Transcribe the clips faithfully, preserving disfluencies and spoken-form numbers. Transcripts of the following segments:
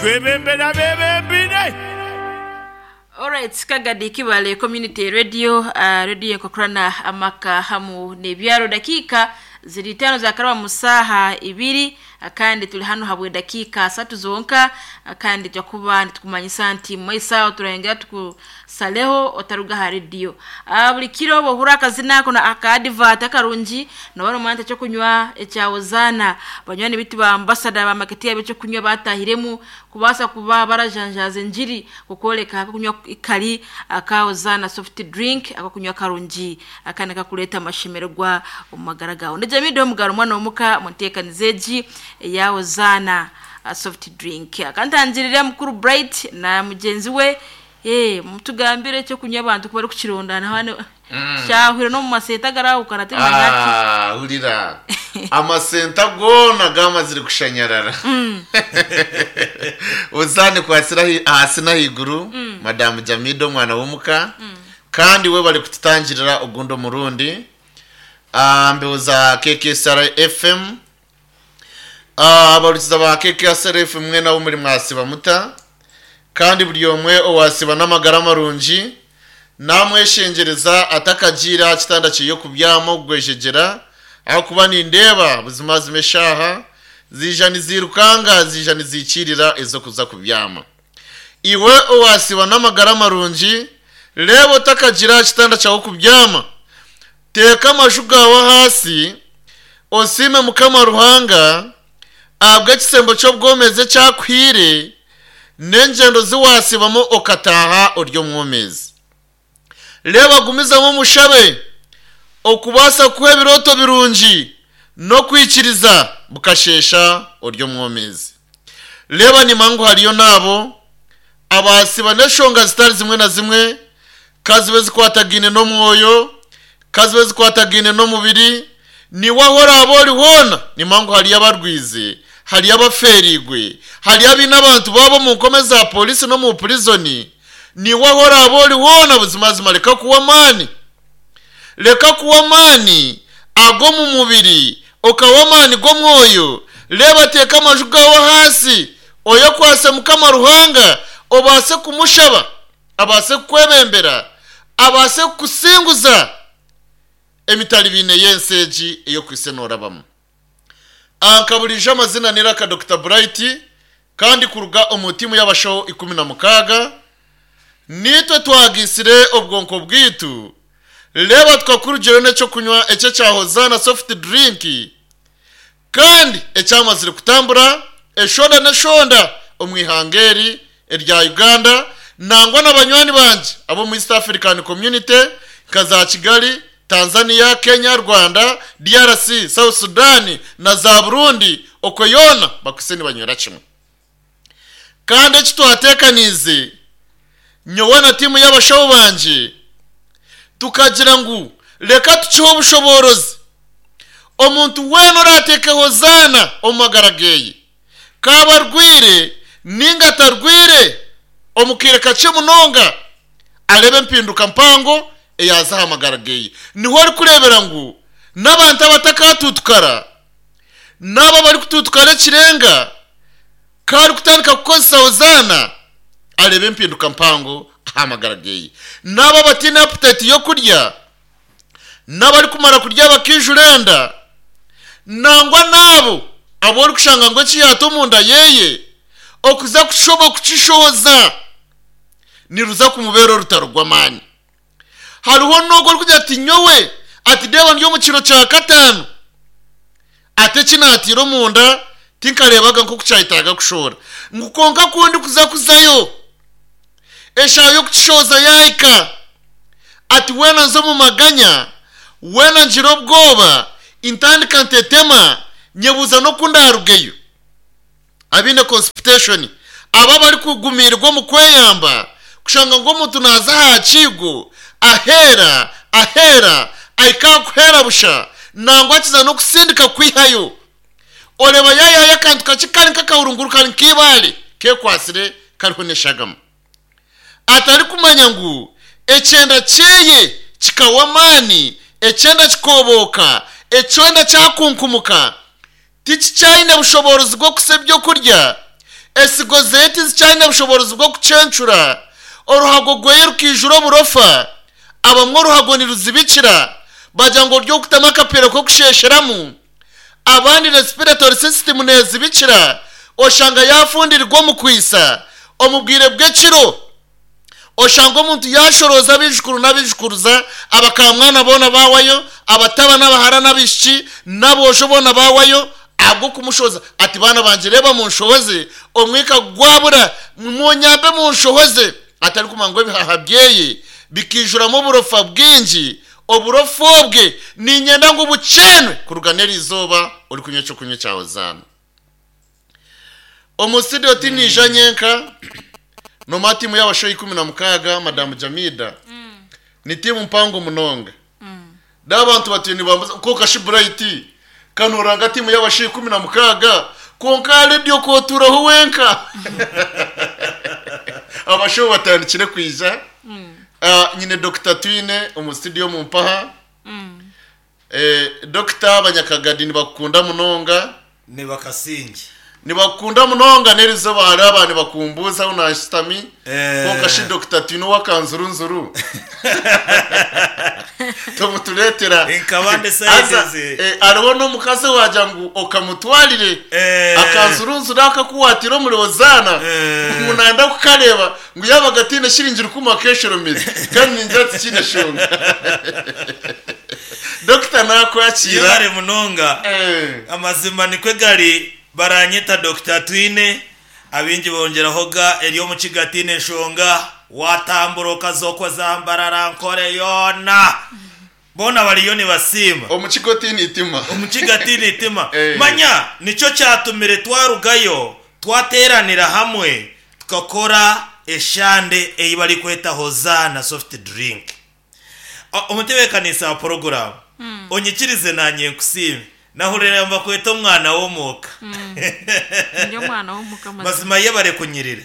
Twebembera bebembire. Alright, Kagadi Kibale Community Radio, uh, radio enkokurana amaka hamu nebyaro. Dakika ziri tano za karaba musaha ibiri, kandi tuli hano habwe dakika asatu zonka, kandi twakuba nitukumanyisa nti maisaho turengera tukusaleho otaruga ha radio. Uh, buli kiro bohura akazina ako na aka advert akarungi nabano mwanta cyo kunywa ecyawozana banywani bitu ba ambassador ba marketing cyo kunywa batahiremu kubasa kuba barajanjaze njiri kukoleka ako kunywa ikali akawozana soft drink ako kunywa karungi akana kakuleta amashemererwa umagara gawe. Ndejamido mugaro mwana omuka muntekanizeji yawozana uh, soft drink. Akantangirira mukuru Bright na mugenzi we eh mutugambire cyo kunywa abantu kuba kukirondana hano mm. Cyahwira no mu masenta garawukana ati ah urira amasenta gona gamazire kushanyarara mm. Uzane kwasira hasi na higuru mm. Madam Jamido mwana w'umuka mm. Kandi we bari kututangirira ugundo murundi ambeoza K K S R F M abarukiza ba K K S R F M mwe nabo muri mwasiba muta kandi buri omwe owasiba n'amagara marungi namweshengereza atakagira kitanda kiyo kubyamo gwejegera aho kuba nindeba buzima zimeshaha zija nizirukanga zija nizikirira ezo kuza kubyama iwe owasiba n'amagara marungi lebo takagira kitanda cyawo kubyama teka amashu gawe hasi osime mukama ruhanga abwe kisembo cyo bwomeze cyakwire n'engendo ziwasibamo okataha oryo mwomezi leba gumizamo mushabe okubasa kuha ebiroto birungi no kwikiriza bukashesha oryo mwomezi leba nimangu hariyo nabo abasiba n'eshonga zitari zimwe na zimwe kazibe zikwatagine n'omwoyo kazibe zikwatagine n'omubiri niwahora abori hona nimangu hariyo abarwize hariyo abaferigwe hariyo ab'abantu babo mu nkome za polisi no mu prison niwahora abori hona buzima reka kuwa mani reka kuwa mani ago mu mubiri okawa mani go mwoyo leba teka amaju gawe hasi oyo kwase mukama ruhanga obase kumushaba abase kukwebembera abase kukusinguza emitali bine yenseji eyo kwisenora bamu ankaburije amazina niraka Doctor Bright kandi kuruga omutimu y'abasho ikumi na mukaga nitwe twagisire obwonko bwitu leba twakurugero n'ecyo kunywa ecyo cyahozana soft drink kandi ecyamazire kutambura eshonda n'eshonda omwihangeri erya Uganda nangwa n'abanywani banje abo mu East African Community kaza Kigali Tanzania, Kenya, Rwanda, D R C, South Sudan na za Burundi okoyona bakuseni banywera kimwe kandi ekitwatekanize nyowe na timu y'abashaho banje tukagira ngu reka tukiho obushoborozi omuntu wena oratekeho zana omumagara geye kaba arwire ninga atarwire omukire kakye munonga arebe empinduka mpango eyaza ahamagara geye niho ari kurebera ngu n'abantu abatakatutukara n'abo bari kututukara ekirenga kari kutandika kukozesa ozana arebe empinduka mpango ahamagara geye n'abo batine appetite yo kurya n'abari kumara kurya bakijurenda nangwa n'abo abo ori kushanga ngo ekiyata omunda yeye okuza kushoba kukishoza niruza kumubera orutaro rw'amaani. Hariho n'ogwo orikugira ati nyowe ati deeba ndi omu kiro kya kataano ate kinatiire omunda tinkareebaga nk'oku kyahitaga kushora ngu konka kundi kuza kuzayo eshaaha y'okukishoza yaahika ati weena nza omu maganya weena ngira obwoba intandika ntetema nyebuuza n'oku ndarugeyo abaine constipation aba barikugumirwa omu kweyamba kushanga ngu omuntu naaza aha kiigo ahera ahera ahika kuhera busha nangwa akiza n'okusindika kwihayo oreba yayihayo akantu kakye kari nk'akahurunguru kari nk'ibaare kekwasire kariho n'eshagama atarikumanya ngu ekyenda kyeye kikawa amaani ekyenda kikoboka ekyenda kyakunkumuka tikikyayine bushoborozi bw'okusa ebyokurya Esigo zeti zikyalina obushoborozi bw'okucencura oruhago gweye rukijura oburofa abamwe oruhago niruzibikira bagira ngo ryo kutama akapira ko kushesheramu abandi respiratory system nezibikira oshanga yafundirwa omu kwisa omubwire bw'ekiro oshanga omuntu yashoroza abijukuru n'abijukuruza abakamwana boona bawayo abataba n'abahara n'abishiki n'abosho boona bawayo ahabw'okumushoza ati baana banje reba munshohoze omwika gwabura munyambe munshohoze atari kumanya ngo ebihaha byeye bikijuramo oburofa bwingi oburofa obwe ninyenda ngu bucenwe kuruga n'eri izooba ori kunywa ekyokunywa kya Hozaana. Omu studio tinija nyenka noma timu y'abashoyi ikumi na mukaaga madamu Jamida ni timu mpango munonga n'abantu batuye nibambuza ko kashiburayiti kanoranga timu y'abashoyi ikumi na mukaaga konka radio koturaho wenka abashoyi batandikire kwija. Ah, nyine Doctor Twine omu studio mu mpaha. Eh, Doctor Abanyakagadi nibakunda munonga ni bakasingi nibakunda munonga n'erizoba hari abantu bakumbuza aho nashitami Eh. konka shi Doctor Twine wakanzurunzuru tumuturetera Inkabande Aza, sizes. eh, hariho n'omukazi wagira ngu okamutwarire Eh. akanzurunzuru akakuwatira omuri Hozaana Eh. ngu nanda kukareba ngu yabaga atiine shiringi rukumi akeshoromeze kandi ningira ati kiine shonga. Doctor nakwakira yari munonga Eh. amazima nikwe gari baranyeta Doctor Twine abingi bongeraho ga eri omu kigatine enshonga watambura okazokwa zambarara nkore yona bona bariyo nibasiima omu kigo tiine itima omu kigatine itima. Eh. Manya nicyo cyatumire twarugayo twateranira hamwe tukakora eshande eyi bari kweta Hozaana soft drink. O- omutebeekanisa wa porogaramu onyikirize nanye nkusiime nahurira mbakweta omwana w'omuka. Ndi omwana w'omuka mazima. Mazima ye bare kunyirira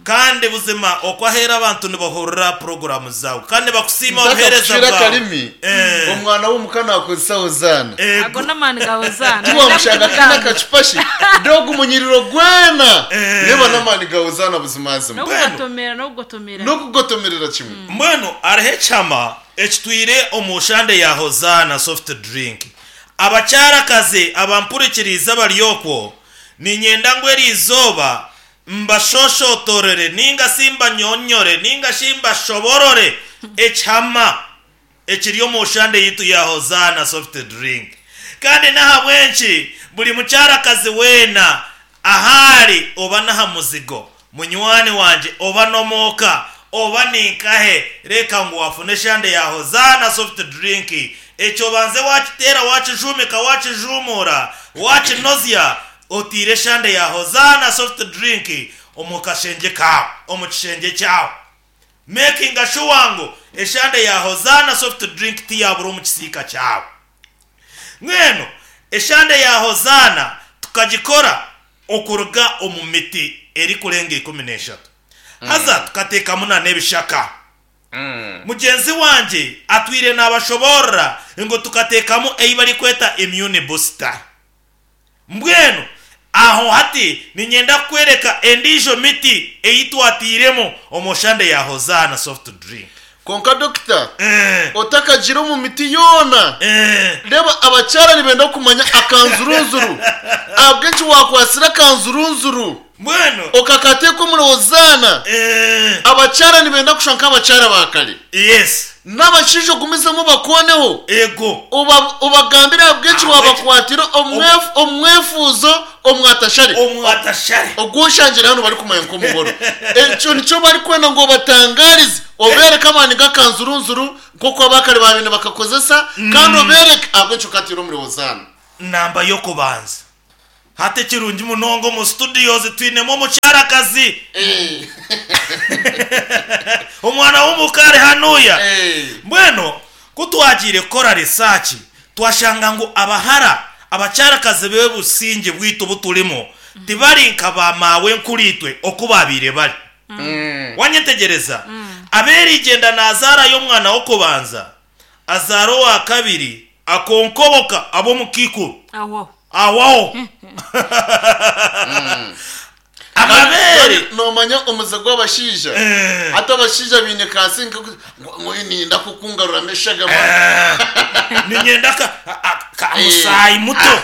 kandi buzima okwahera abantu nibahurira porogaramu zawe kandi bakusiima obuheereza Ntakakucwira bwawe. akarimi Eh. omwana w'omuka nakozesa Hozaana Ego. Ago n'amaani ga Hozaana. tiwamushanga kina akacupa shi doga umunyiriro gwena Eh. reba n'amaani ga Hozaana buzimazima N'okugotomera n'okugotomera. n'okugotomerera kimwe. Mbwenu hariho ekyama ekitwire omu shande ya Hozaana soft drink abakyarakazi abampurikiriza bari okwo ninyenda ngu eri izooba mbashoshotorere ninga simbanyonyore ninga shimbashoborore ekyama ekiri omu shande yitu ya Hozaana soft drink kandi n'ahabwenki buri mukyarakazi weena ahari oba n'aha muzigo munywani wanje oba n'omwoka oba ninkahe reka ngu wafune eshande ya Hozaana soft drink ekyo banze wakiteera wakijumika wakijumura wakinozya otiire eshande ya Hozaana soft drink omu kashenge kawe omu kishenge kyawe making sure ngu eshande ya Hozaana soft drink tiyabura omu kisiika kyawe. Mweno eshande ya Hozaana tukagikora okuruga omu miti eri kurenga ikumi n'eshatu haza tukateekamu na n'ebishaka. Mugenzi wanje atwire n'abashoborora ngo tukateekamu eyi bari kweta immune booster. Mbwenu aho hati ninyenda kwereka endijo miti eyi twatiiremu omu shande ya Hozaana soft drink. Konka Doctor Eh, otakagira omu miti yoona eh, reba abakyara nibenda kumanya akanzurunzuru ahabw'enki wakwasira akanzurunzuru mbwenu okakateeka omuri Hozaana eh, abakyara nibenda kushusha nk'abakyara ba kare yes n'abashaija ogumizemu bakoneho ego Oba- obagambire ahabw'enki Ahabw'enki- wabakwatira omwef- omwefuzo omwatashare omwatashare ogushangira hano bari kumanya nk'omuhoro ekyo nicyo bari kwenda ngo batangarize obereke amaani g'akanzurunzuru nk'oku abakare babine bakakozesa kandi obereke ahabw'enki okatira omuri Hozaana. Namba y'okubanza hati ekirungi munonga omu studios twinemu omukyarakazi omwana w'omukare hanuya. Mbwenu kutwagiire kukora research twashanga ngu abahara abakyarakazi b'obusinge bwitu buturimu tibari nka bamawe nkuritwe oku babiire bari. Wanyetegereza aberigenda nazaara y'omwana w'okubanza azaara owa kabiri akonkoboka ab'omukikuru Awo. awaho. Amabere Nomanya omuze gw'abashaija, Eh. hati abashaija baine kasi ninda kukungaruramu eshagama. Ninyenda ka- a- ka musaayi muto,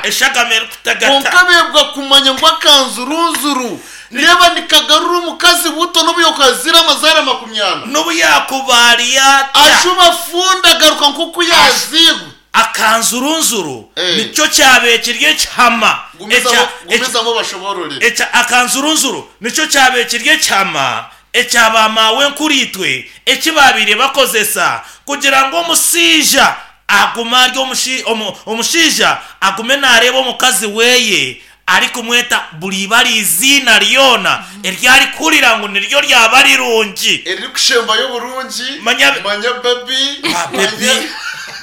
eshagama erikutagata. Konka bebwa kumanya ngu akanzurunzuru reba nikagarura omukazi buto n'obu yokazira amazaara makumi ana. N'obu yakubaariyata. Ashuba funda agaruka nk'oku yazigwa. Akanzurunzuru Eh. nicyo kyabekirye ekihama. Gumizamu. Ekya- Gumizamu bashoborore. Ekya akanzurunzuru nicyo kyabekirye ekyama ekyabamawe nkuritwe ekibabire bakozesa kugira ngo omushaija agume ari omushi- omu- omushaija agume nareeba omukazi weye ari kumweta buri ibara iziina ryona eryarikurira ngu niryo ryaba rirungi. Eriri oburungi. Manya- Manya baby. Ba baby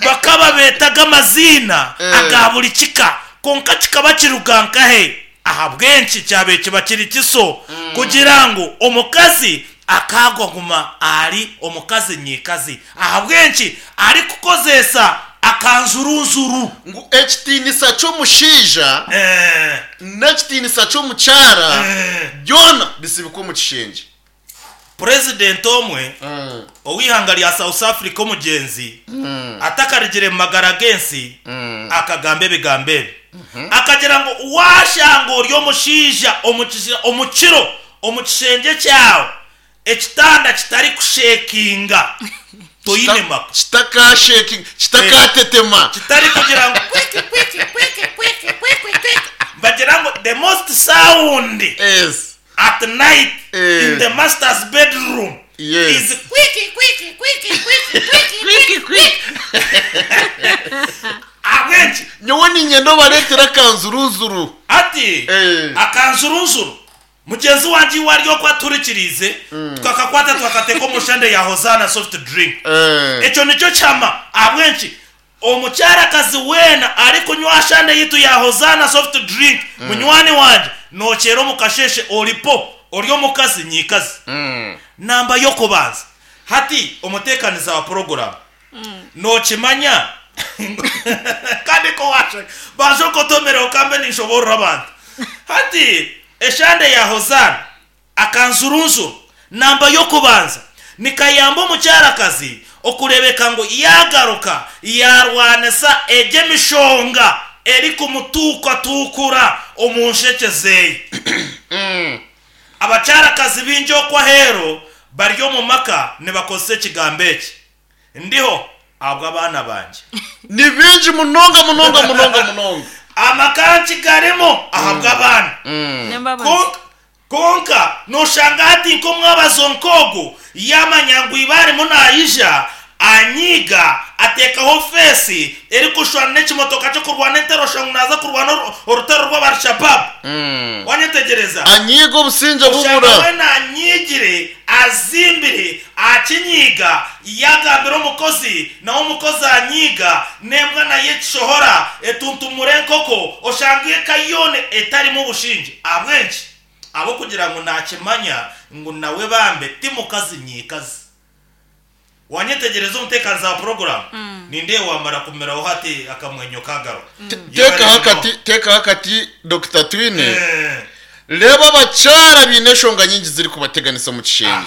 bakaba betaga amazina Eh. aga buri kika, konka kikaba kiruga nkahe? Ahabwenki kyabe kiba kiri kiso kugira ngu omukazi akagwaguma ari omukazi nyikazi? Ahabwenki ari kukozesa akanzurunzuru? Ngu ekitiinisa ky'omushaija Eh, n'ekitiinisa ky'omukyara eh. byona bisibikwa omu kishengye. Purezidenti omwe ow'ihanga rya South Africa, omugyenzi atakarigire mu magara g'ensi, akagamba ebigambo ebi, akagira ngu washanga ori omushaija omu kisi- omu kiro omu kishengye kyawe ekitanda kitari kushekinga, toyine maka. Kitakashekinga, kitakatetema. Kitari kugira ngu kwiki kwiki kwiki kwiki kwiki kwiki, bagira ngu the most sound yes at night Eh. in the master's bedroom Yes. is kwiki kwiki kwiki kwiki kwiki. Kwiki kwiki. Abenshi Nyowe ninyenda obareetera akanzuruzuru. Ati Eh. akanzurunzuru mugenzi wanje iwe aryo kwaturikirize, tukakakwata tukakateka omushande ya Hosana soft drink. Eh. Ekyo nicyo kyama. Abwenki omukyarakazi weena ari kunywa shande yitu ya Hosana soft drink, munywani wanje, nokyera omukasheshe oripo ori omukazi nyikazi. Namba yokubanza, hati omutekaniza wa porogaramu nokimanya kandi ko washa baje okotomera okambe ninshoborora abantu. Hati eshande ya Hosana akanzurunzuru namba yokubanza nikayamba omukyarakazi okurebeka ngu yagaruka yarwanisa egy'emishonga eri kumutuukatukura omu nsheke zeye. Abakyarakazi bingi okwahero bari omu maka nibakozesa ekigambo eki, ndiho abwo abaana banje. Ni bingi munonga munonga munonga munonga. Amaka nkigarimo ahabwa abaana. Nembabazi. Konka- konka noshanga hati nk'omwabazo nkogu yamanya ngu ibarimo nayija anyiga atekaho fesi eri kushwana n'ekimotoka cyo kurwana entero, shangu naza kurwana oru- orutaro rw'abarshababu, wanyetegereza? Anyiga obusinge Oshanga bubura. we nanyigire azimbire akinyiga yagambira omukozi, nawe omukozi anyiga nembwa naye ekishohora etuntumura enkoko, oshanga eka yone etarimu obushinge. Abwenki? Abo kugira ngu nakimanya ngu nawe bambe ti mukazi nyikazi. Wanyetegereza omuteekaniza wa porogaramu? Ninde wamara kumeraho hati akamwenyo kagaro. Tekaho akati, tekaho akati, Dr Twine. Eh, Reba abakyara biine enshonga nyingi ziri kubateganisa mu kishengye.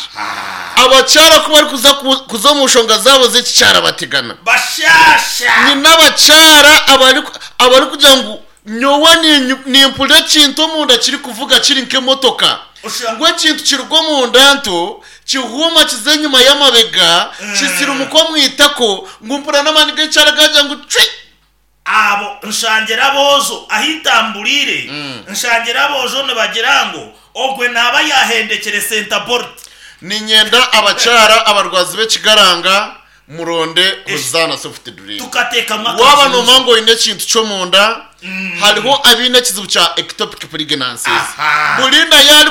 Abakyara ku bari kuza ku- kuza omu nshonga zaabo z'ekikyara bategana. Bashasha. Ni n'abakyara abari abari kugira ngu nyowe ninyu- nimpurira ekintu omunda kiri kuvuga kiri nk'emotoka. Usha- Ngo ekintu kiruga omunda nto kihuuma kiza enyuma y'amabega kisirumuka omwitako, ngu mpurira n'amaani g'ekyara gagira ngu cwi. Abo nshangira abozo ahitambulire, nshangira abozo nibagira ngu ogwe naba yahendekere sentabolt. Ninyenda abakyara abarwazi b'ekigaranga muronde Hosana soft drink. Tukateekamu Waba akanzurunzuru. nomanya ngu oine ekintu ky'omunda, hariho abaine ekizibu kya ectopic pregnancies. Aha. Bulinda yari.